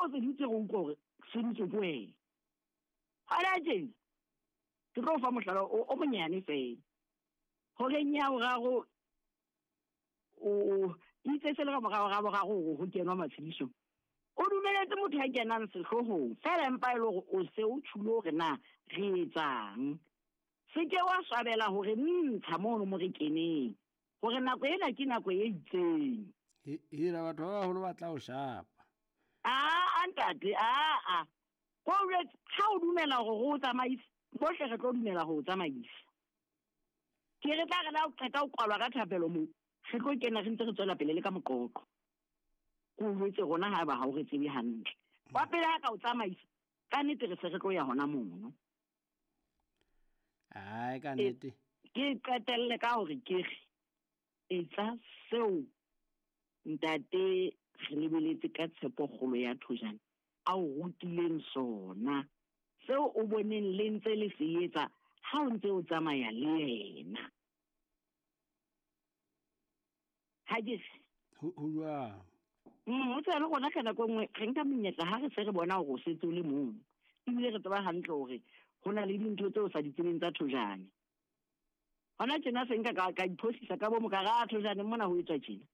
o se dutse go utlwa gore seditse ke wena. Gona tjena ke tlo fa mohlala o monyane fela. Horeng ya boraro o itse se le ka morago ga boraro gore go kenwa matshedisong. O dumeletse motho ya kenang sehloohong fela empa e le gore o se o tjhulo hore na re etsang. Se ke wa swabela hore ntsha mono mo re keneng. Hore nako ena ke nako e itseng. Hira batho ba baholo ba tla o shapa. Aa ntate, aa. Ko jwetse ha o dumela hore re o tsamaise, bohle re tlo dumela ho o tsamaisa. Ke re tla re la o qeta ho kwalwa ka thapelo moo, re tlo kena re ntse re tswela pele le ka moqoqo. Ko jwetse rona ha eba ha o re tsebe hantle. Wa pele ha ka o tsamaisa, ka nnete re se re tlo ya hona mono. Ai ka nnete. Ke qetelle ka hore ke re etsa seo ntate re lebeletse ka tshepo kgolo ya Thojane a o rutileng sona, seo o boneng le ntse le se etsa ha o ntse o tsamaya le yena. Ha ke re Ho jwang? O tseba le rona ka nako e nngwe re nka menyetla ha re se re bona hore o setse o le mong. Ebile re tseba hantle hore ho na le dintho tseo o sa di tsebeng tsa Thojane. Hona tjena se nka ka iphosisa ka bomo ka re, a Thojane mona ho etswa tjena.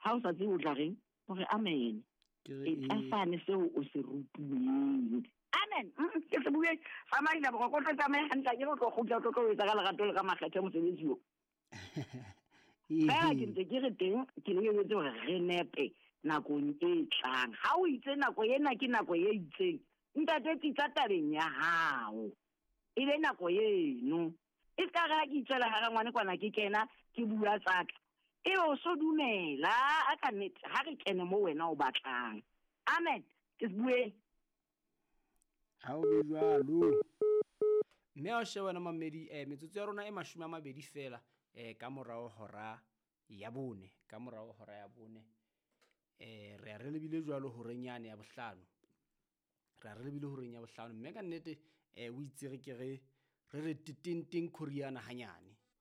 Ha o sa tsebe o tla reng? Hore amen. Etsa sane seo o se rutuweng. Amen. Ke se bue. Tsamaisa boroko, o tlo tsamaye hantle, akere o tlo kgutla, o tlo tlo etsa ka lerato le ka makgethe mosebetsi o. Fela ke ntse ke re teng, ke lebeletse hore re nepe nakong e tlang. Ha o itse nako ena ke nako e itseng, ntate tsitsa tabeng ya hao. E be nako eno. E ska re ha ke itswela hara ngwane kwana ke kena, ke bua tsa ka. Ebe o so dumela, a ka nnete, ha re kene mo wena o batlang. Amen. Ke se bueng. Ha o be jwalo. Mme ha o sheba wena mamedi, metsotso ya rona e 20 fela, ka morao hora ya bone, ka morao hora ya bone. Re a re lebile jwalo horeng yane ya bohlano. Re a re lebile horeng ya bohlano. Mme ka nnete, o itse re ke re re teteng teng khoriana hanyane.